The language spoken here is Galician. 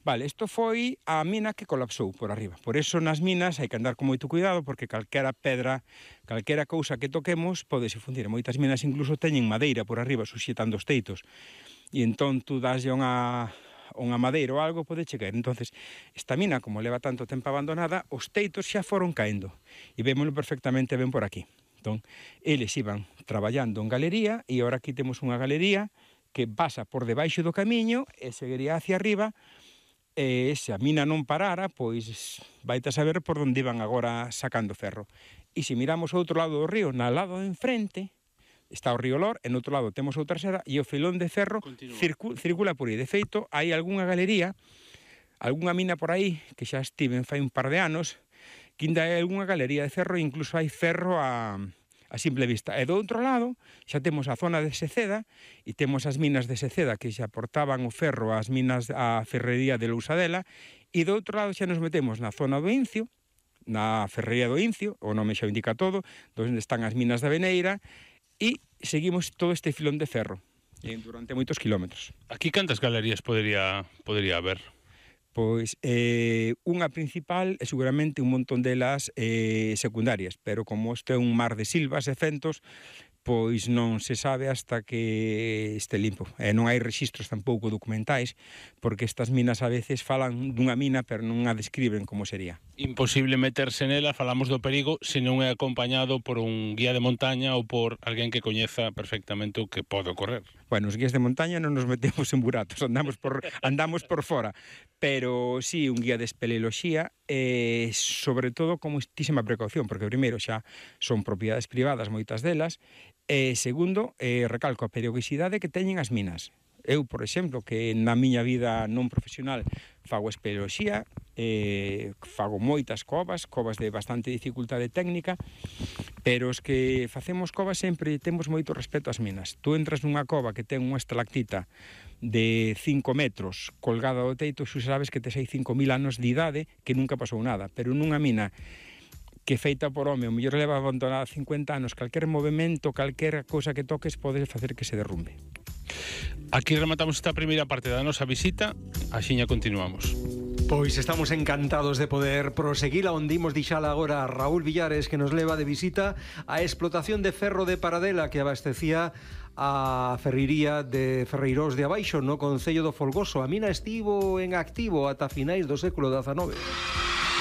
Vale, isto foi a mina que colapsou por arriba. Por eso nas minas hai que andar con moito cuidado porque calquera pedra, calquera cousa que toquemos podese fundir. Moitas minas incluso teñen madeira por arriba suxetando os teitos. E entón tú daslle unha madeira ou algo pode chegar. Entonces, esta mina, como leva tanto tempo abandonada, os teitos xa foron caendo. E vémoslo perfectamente ben por aquí. Entón, eles iban traballando en galería e agora aquí temos unha galería que pasa por debaixo do camiño e seguiría hacia arriba. E se a mina non parara, pois vaite a saber por onde iban agora sacando ferro. E se miramos ao outro lado do río, na lado de enfrente, está o río Lor, e no outro lado temos outra serra, e o filón de ferro circula por aí. De feito, hai algunha galería, algunha mina por aí, que xa estiven fai un par de anos, que ainda hai algunha galería de ferro, e incluso hai ferro a simple vista. E do outro lado xa temos a zona de Seceda e temos as minas de Seceda que xa aportaban o ferro ás minas, a ferrería de Lousadela, e do outro lado xa nos metemos na zona do Incio, na ferrería do Incio, o nome xa indica todo, onde están as minas da Veneira, e seguimos todo este filón de ferro durante moitos kilómetros. Aquí cantas galerías podería haber? Pois unha principal e seguramente un montón delas secundarias, pero como este é un mar de silvas e fentos, pois non se sabe hasta que este limpo. E non hai rexistros tampouco documentais, porque estas minas a veces falan dunha mina, pero non a describen como sería. Imposible meterse nela, falamos do perigo, se non é acompañado por un guía de montaña ou por alguén que coñeza perfectamente o que pode ocorrer. Bueno, os guías de montaña non nos metemos en buratos, andamos por fora, pero sí un guía de espeleoloxía, sobre todo con muitísima precaución, porque primeiro xa son propiedades privadas moitas delas, e segundo, recalco a periodicidade que teñen as minas. Eu, por exemplo, que na miña vida non profesional fago espeleoloxía, fago moitas covas de bastante dificultade técnica, pero os que facemos covas sempre temos moito respeto ás minas. Tú entras nunha cova que ten unha estalactita de 5 metros colgada do teito, xu sabes que tes aí 5.000 anos de idade que nunca pasou nada, pero nunha mina que feita por home, o mellor leva abandonada 50 anos, calquer movimento, calquer cousa que toques pode facer que se derrumbe. Aquí rematamos esta primeira parte da nosa visita, axiña continuamos. Pois estamos encantados de poder proseguir onde imos dixala agora a Raúl Villares, que nos leva de visita a explotación de ferro de Paradela que abastecía a ferrería de Ferreirós de Abaixo no concello do Folgoso. A mina estivo en activo ata finais do século XIX.